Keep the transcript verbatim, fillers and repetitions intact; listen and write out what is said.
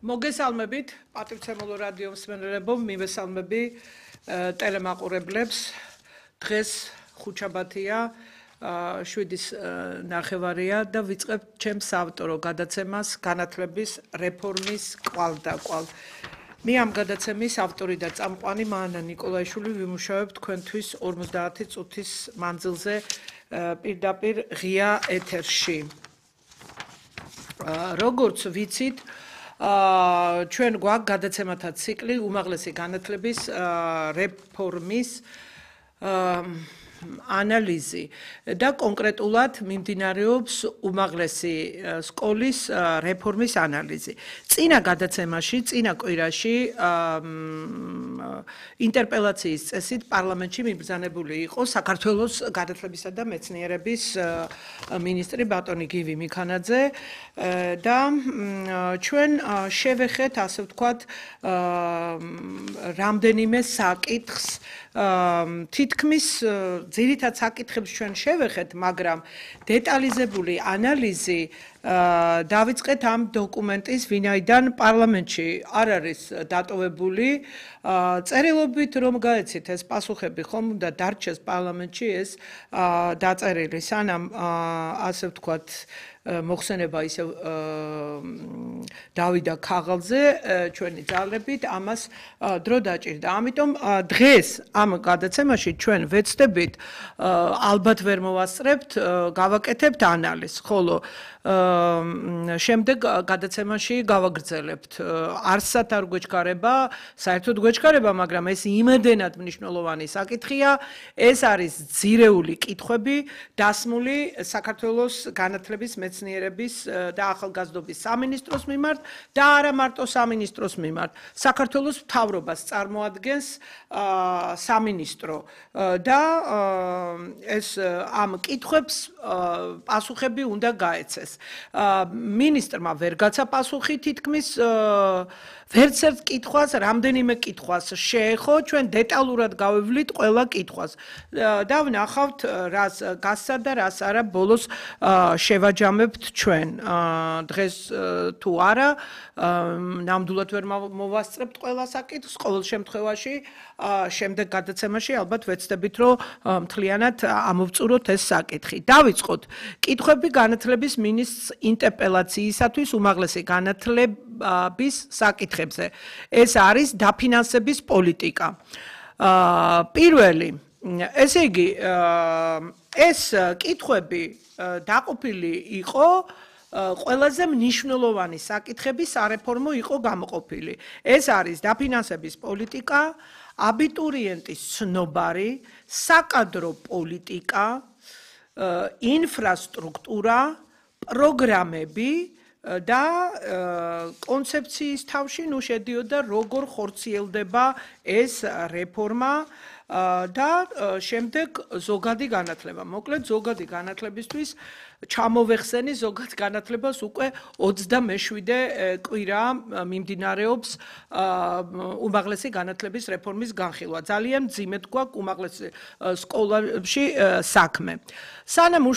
მოგესალმებით პატრიცემულო რადიო მსმენელებო, მივესალმები ტელემაყურებლებს. დღეს ხუთშაბათია, შვიდის ნახევარია და ვიწყებთ ჩემს საავტორო გადაცემას განათლების რეფორმის კვალდაკვალ. მე ამ გადაცემის ავტორი და წამყვანი მაანა ნიკოლაიშვილი ვიმუშავებ თქვენთვის ორმოცდაათი წუთის მანძილზე პირდაპირ ღია ეთერში. როგორც ვიცით, ჩვენ გვაქვს გადაცემათა ციკლი უმაღლესი განათლების რეფორმის ანალიზი და კონკრეტულად მიმდინარეობს უმაღლესი სკოლის რეფორმის ანალიზი. წინა გადაცემაში, წინა კვირაში ინტერპელაციის წესით პარლამენტში მიბრძანებული იყო საქართველოს განათლებისა და მეცნიერების მინისტრი ბატონი გივი მიქანაძე და ჩვენ შევეხეთ, ასე ვთქვათ, რამდენიმე საკითხს თითქმის ძირითად საკითხებს ჩვენ შევეხეთ, მაგრამ დეტალიზებული ანალიზი დავიწყეთ ამ დოკუმენტის, ვინაიდან პარლამენტში არ არის დატოვებული წერილობით რომ გაეცით ეს პასუხები, ხომ უნდა დარჩეს პარლამენტში ეს დაწერილი, სანამ ასე ვთქვათ მოხსენება ისე დავიდა ქაღალდზე ჩვენი ძალებით ამას დრო დაჭირდა. ამიტომ დღეს ამ გადაცემაში ჩვენ ვეცდებით ალბათ ვერ მოვასწრებთ, გავაკეთებთ ანალიზს, ხოლო შემდეგ გადაცემაში გავაგრძელებთ. არსად არ გვეჩქარება, საერთოდ გვეჩქარება, მაგრამ ეს იმედენად მნიშვნელოვანი საკითხია. ეს არის ძირეული კითხვები დასმული საქართველოს განათლების მეცნიერების და ახალგაზრდობის სამინისტროს მიმართ და არა მარტო სამინისტროს მიმართ. საქართველოს მთავრობას წარმოადგენს სამინისტრო და ეს ამ კითხვებს პასუხები უნდა გაეცეს. მინისტრმა ვერ გაცა პასუხი თითქმის ვერც ერთ კითხვას, რამდენიმე კითხვას შეეხო, ჩვენ დეტალურად გავევლით ყველა კითხვას და ვნახავთ რას გასცა და რას არა ბოლოს შევაჯამებთ ჩვენ. დღეს თუ არა, ნამდვილად ვერ მოვასწრებთ ყველა საკითხს, ყოველ შემთხვევაში შემდეგ გადაცემაში ალბათ ვეცდებით, რომ მთლიანად ამოვწუროთ ეს საკითხი. დავიწყოთ კითხვები განათლების მინისტრს ინტერპელაციისათვის უმაღლესი განათლების საკითხებზე. ეს არის დაფინანსების პოლიტიკა. პირველი, ესე იგი, ეს კითხვები დაყოფილი იყო ყველაზე მნიშვნელოვანი საკითხები სარეფორმო იყო გამოყოფილი. ეს არის დაფინანსების პოლიტიკა, აბიტურიენტის ცნობარი, საკადრო პოლიტიკა, ინფრასტრუქტურა, პროგრამები და კონცეფციის თავში ნუ შედიოდა როგორ ხორციელდება ეს რეფორმა და შემდეგ ზოგადი განათლება. მოკლედ ზოგადი განათლებისთვის ჩამოვეხსენი ზოგად განათლებას უკვე ოცდამეშვიდე კვირა მიმდინარეობს უმაღლესი განათლების რეფორმის განხილვა. ძალიან მძიმედ გვაქვს უმაღლესი სკოლებში საქმე. სანამ